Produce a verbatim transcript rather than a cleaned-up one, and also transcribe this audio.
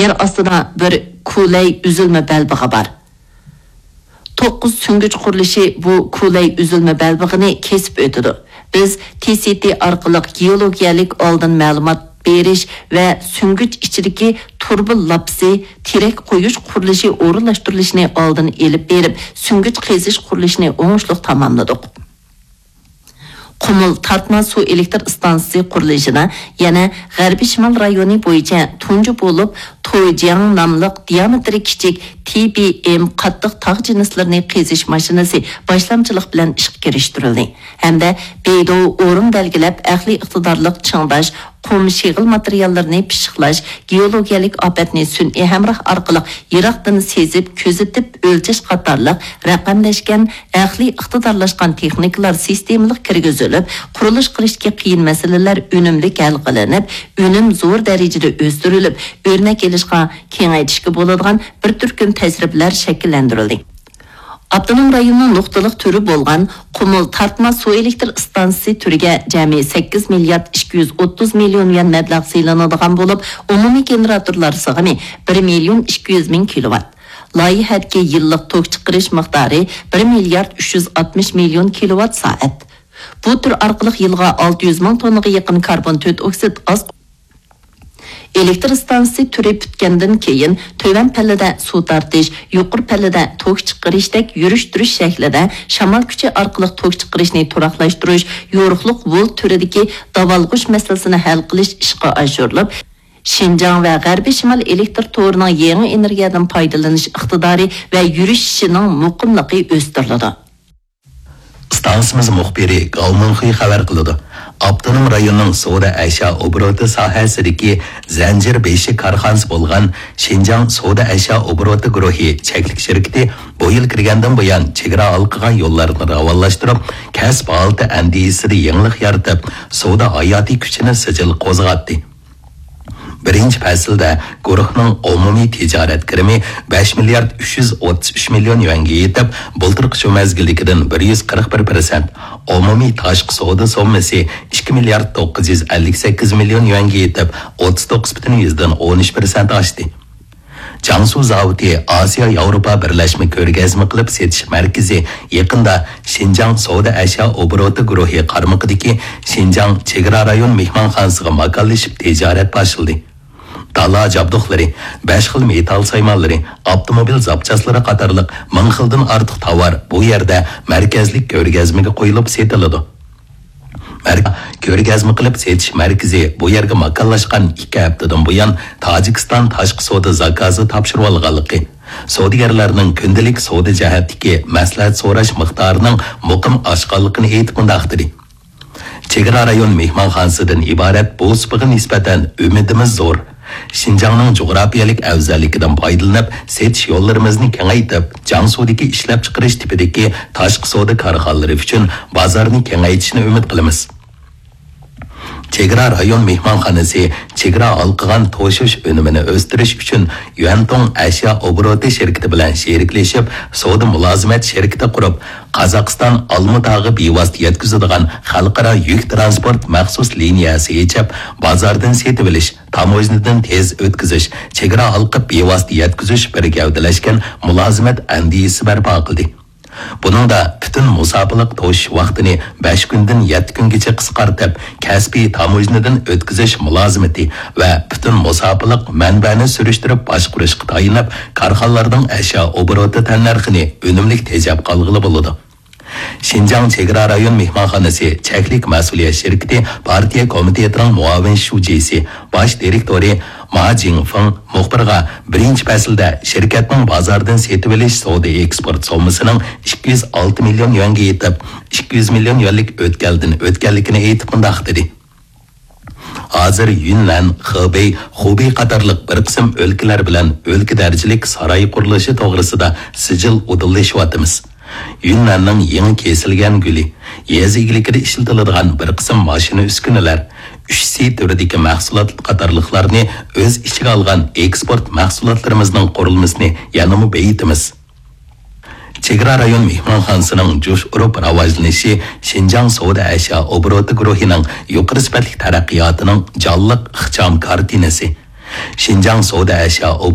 يەر ئاستىدا بىر كۇلەي ئۈزۈلمە بەلبېغى بار. توققۇز سۈڭگۈچ قۇرۇلۇشى بۇ كۇلەي ئۈزۈلمە بەلبېغىنى كېسىپ ئۆتىدۇ. بىز تى سى تى ئارقىلىق گېئولوگىيەلىك ئالدىن مەلۇمات بېرىش ۋە سۈڭگۈچ ئىچىدىكى تۇرۇبا لاپىسى، تىرەك قويۇش قۇرۇلۇشى ئورۇنلاشتۇرۇلۇشىنى ئالدىن ئېلىپ بېرىپ، سۈڭگۈچ قېزىش قۇرۇلۇشىنى ئوڭۇشلۇق تاماملىدۇق. قۇمۇل تارتما سۇ ئېلېكتر ئىستانسىسى قۇرۇلۇشىدا يەنە غەربىي شىمال رايونى بويىچە تۇنجى بولۇپ تويجياڭ ناملىق دىيامېتىرى كىچىك تى بى ئېم قاتتىق تاغ جىنسلىرىنى قېزىش ماشىنىسى باشلامچىلىق بىلەن ئىشقا كىرىشتۈرۈلدى ھەمدە بېيدۇ ئورۇن بەلگىلەپ ئەقلىي ئىقتىدارلىق چىڭداش، قۇم شېغىل ماتېرىياللىرىنى پىششىقلاش، گېئولوگىيەلىك ئاپەتنى سۈنئىي ھەمراھ ئارقىلىق يىراقتىن سېزىپ، كۆزىتىپ ئۆلچەش قاتارلىق رەقەملەشكەن ئەقلىي ئىقتىدارلاشقان تېخنىكىلار سىستېمىلىق كىرگۈزۈلۈپ، قۇرۇلۇش قىلىشتىكى قىيىن مەسىلىلەر ئۈنۈملۈك ھەل قىلىنىپ، ئۈنۈم زور دەرىجىدە ئۆستۈرۈلۈپ، ئۆرنەك ئېلىشقا، كېڭەيتىشكە بولىدىغان بىر تۈركۈم تەجرىبىلەر شەكىللەندۈرۈلدى. ئاپتونوم رايوننىڭ نۇقتىلىق تۈرى بولغان قۇمۇل تارتما سۇ ئېلېكتر ئىستانسىسى تۈرىگە جەمئىي سەككىز مىليارد ئىككى يۈز ئوتتۇز مىليون يۈەن مەبلەغ سېلىنىدىغان بولۇپ، ئومۇمىي گېنېراتورلار سىغىمى بىر مىليون ئىككى يۈز مىڭ كىلوۋات. لايىھەدىكى يىللىق توك چىقىرىش مىقدارى بىر مىليارد ئۈچ يۈز ئاتمىش مىليون كىلوۋات سائەت. بۇ تۈر ئارقىلىق يىلىغا ئالتە يۈز مىڭ توننىغا يېقىن كاربون تۆت ئوكسىد ئاز. ئېلېكتر ئىستانسىسى تۈرى پۈتكەندىن كېيىن، تۆۋەن پەللىدە سۇ تارتىش، يۇقىرى پەللىدە توك چىقىرىشتەك يۈرۈشتۈرۈش شەكلىدە شامال كۈچى ئارقىلىق توك چىقىرىشنى تۇراقلاشتۇرۇش، يورۇقلۇق ۋول تۈرىدىكى داۋالغۇش مەسىلىسىنى ھەل قىلىش ئىشقا ئاشۇرۇلۇپ، شىنجاڭ ۋە غەربىي شىمال ئېلېكتر تورىنىڭ يېڭى ئېنېرگىيەدىن پايدىلىنىش ئىقتىدارى ۋە يۈرۈشۈشىنىڭ مۇقىملىقى ئۆستۈرۈلىدۇ. ئىستانسىمىز مۇخبىرى گاۋ مىڭخۇي خەۋەر قىلىدۇ. ئاپتونوم رايوننىڭ سودا ئەشيا ئوبوروتى ساھەسىدىكى زەنجىر بېشى كارخانىسى بولغان شىنجاڭ سودا ئەشيا ئوبوروتى گۇرۇھى چەكلىك شىركىتى بۇ يىل كىرگەندىن بۇيان، چېگرا ھالقىغان يوللارنى راۋانلاشتۇرۇپ، كەسىپ ھالىتى ئەندىزىسىدە يېڭىلىق يارىتىپ، سودا ھاياتىي كۈچىنى سىجىل قوزغاتتى. بىرىنچى پەسىلدە گۇرۇھنىڭ ئومۇمىي تىجارەت كىرىمى بەش مىليارد ئۈچ يۈز ئوتتۇز ئۈچ مىليون يۈەنگە يېتىپ، بۇلتۇرقى شۇ مەزگىلدىكىدىن بىر يۈز قىرىق بىر پىرسەنت، ئومۇمىي تاشقى سودا سوممىسى ئىككى مىليارد توققۇز يۈز ئەللىك سەككىز مىليون يۈەنگە يېتىپ، ئوتتۇز توققۇز پۈتۈن يۈزدىن ئون ئۈچ پىرسەنت ئاشتى. جياڭسۇ زاۋۇتى ئاسىيا ياۋروپا بىرلەشمە كۆرگەزمە قىلىپ سېتىش مەركىزى يېقىندا شىنجاڭ سودا ئەشيا ئوبوروتى گۇرۇھى قارمىقىدىكى شىنجاڭ چېگرا رايون مېھمانخانىسىغا ماكانلىشىپ تىجارەت باشلىدى. دالا جابدۇقلىرى، بەش خىل مېتال سايمانلىرى، ئاپتوموبىل زاپچاسلىرى قاتارلىق مىڭ خىلدىن ئارتۇق تاۋار بۇ يەردە مەركەزلىك كۆرگەزمىگە قويۇلۇپ سېتىلىدۇ. مەركە-، كۆرگەزمە قىلىپ سېتىش مەركىزى بۇ يەرگە ماكانلاشقان ئىككى ھەپتىدىن بۇيان، تاجىكىستان تاشقى سودا زاكازى تاپشۇرۇۋالغانلىقى، سودىگەرلەرنىڭ كۈندىلىك سودا جەھەتتىكى مەسلىھەت سوراش مىقدارىنىڭ مۇقىم ئاشقانلىقىنى ئېيتىپ مۇنداق دېدى: چېگرا رايون مېھمانخانىسىدىن ئىبارەت بۇ سۇپىغا نىسبەتەن ئۈمىدىمىز زور. شىنجاڭنىڭ جۇغراپىيەلىك ئەۋزەللىكىدىن پايدىلىنىپ، سېتىش يوللىرىمىزنى كېڭەيتىپ، جياڭسۇدىكى ئىشلەپچىقىرىش تىپىدىكى تاشقى سودا كارخانىلىرى ئۈچۈن بازارنى كېڭەيتىشنى ئۈمىد قىلىمىز. چېگرا رايون مېھمانخانىسى چېگرا ھالقىغان توشۇش ئۈنۈمىنى ئۆستۈرۈش ئۈچۈن يۈەنتۇڭ ئەشيا ئوبوروتى شىركىتى بىلەن شېرىكلىشىپ، سودا مۇلازىمەت شىركىتى قۇرۇپ، قازاقىستان ئالمۇتاغا بىۋاسىتە يەتكۈزىدىغان خەلقئارا يۈك تىرانسپورت مەخسۇس لىنىيەسى ئېچىپ، بازاردىن سېتىۋېلىش، تاموژنىدىن تېز ئۆتكۈزۈش، چېگرا ھالقىپ بىۋاسىتە يەتكۈزۈش بىر گەۋدىلەشكەن مۇلازىمەت ئەندىزىسى بەرپا قىلدى. بۇنىڭدا پۈتۈن مۇساپىلىق توشۇش ۋاقتىنى بەش كۈندىن يەتتە كۈنگىچە قىسقارتىپ، كەسپىي تاموژنىدىن ئۆتكۈزۈش مۇلازىمىتى ۋە پۈتۈن مۇساپىلىق مەنبەنى سۈرۈشتۈرۈپ باشقۇرۇشقا تايىنىپ، كارخانىلارنىڭ ئەشيا ئوبوروتى تەننەرخىنى ئۈنۈملۈك تېجەپ قالغىلى بولىدۇ. شىنجاڭ چېگرا رايون مېھمانخانىسى چەكلىك مەسئۇلىيەت شىركىتى پارتىيە كومىتېتىنىڭ مۇئاۋىن شۇجىسى، باش دىرېكتورى ما جىڭفېڭ مۇخبىرغا بىرىنچى پەسىلدە شىركەتنىڭ بازاردىن سېتىۋېلىش سودا ئېكسپورت سوممىسىنىڭ ئىككى يۈز ئالتە مىليون يۈەنگە يېتىپ، ئىككى يۈز مىليون يۈەنلىك ئۆتكەلدىن ئۆتكەنلىكىنى ئېيتىپ مۇنداق دېدى: ھازىر يۈننەن، خېبېي، خۇبېي قاتارلىق بىر قىسىم ئۆلكىلەر بىلەن ئۆلكە دەرىجىلىك ساراي قۇرۇلۇشى توغرىسىدا سىجىل ئۇدۇللىشىۋاتىمىز. يۈننەننىڭ يېڭى كېسىلگەن گۈلى، يېزا ئىگىلىكىدە ئىشلىتىلىدىغان بىر قىسىم ماشىنا ئۈسكۈنىلەر، ئۈچ سى تۈرىدىكى مەھسۇلات قاتارلىقلارنى ئۆز ئىچىگە ئالغان ئېكسپورت مەھسۇلاتلىرىمىزنىڭ قۇرۇلمىسىنى يەنىمۇ بېيىتىمىز. چېگرا رايون مېھمانخانىسىنىڭ جۇش ئۇرۇپ راۋاجلىنىشى شىنجاڭ سودا ئەشيا ئوبوروتى گۇرۇھىنىڭ يۇقىرى سۈپەتلىك تەرەققىياتىنىڭ جانلىق ئىخچام كارتىنىسى. شىنجاڭ سودا ئەشيا